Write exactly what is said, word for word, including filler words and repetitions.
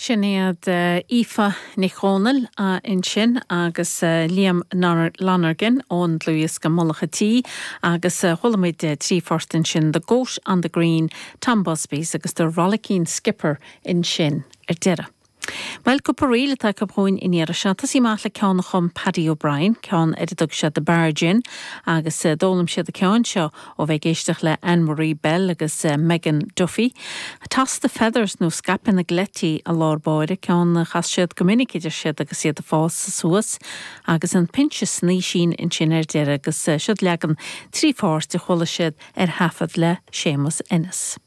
Sin iad Aoife Nic Dhomhnaill ansin agus Liam Lonergan ón dlúthdhiosca Mullach an Tí agus chuala muid trí phort ansin The Goat on the Green, Tom Busby's agus The Rollicking Skipper ansin ar deireadh. Well cúpla ríl atá acu chugainn an iarraidh seo Tá sí maith le ceann a chum Paddy O'Brien, ceann ar a dtug sé The Barge Inn agus d'fhoghlaim siad an ceann seo ó bheith ag éisteacht le Anne-Marie Bell agus Megan Duffy. Toss the Feathers nó scaipeadh na gcleití i lár báire ceann a chas siad go minic idir siad agus iad ag fás suas agus an Pinse Snaoisín ansin ar deireadh agus siod leagan trí pháirt a chuala siad ar thaifead le Séamus Ennis.